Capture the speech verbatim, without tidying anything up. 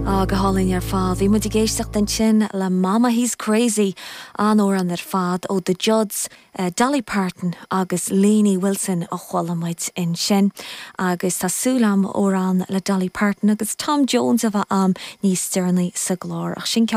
Á go hálainn ar fad, bhí muid ag éisteacht ansin le Mama He's Crazy an-amhrán ar fad ó The Judds, uh, Dolly Parton agus Lainey Wilson a chuala muid ansin. Agus tá súil agam amhrán le Dolly Parton agus Tom Jones a bheith agam níos deireanaí sa gclár ach sin ceann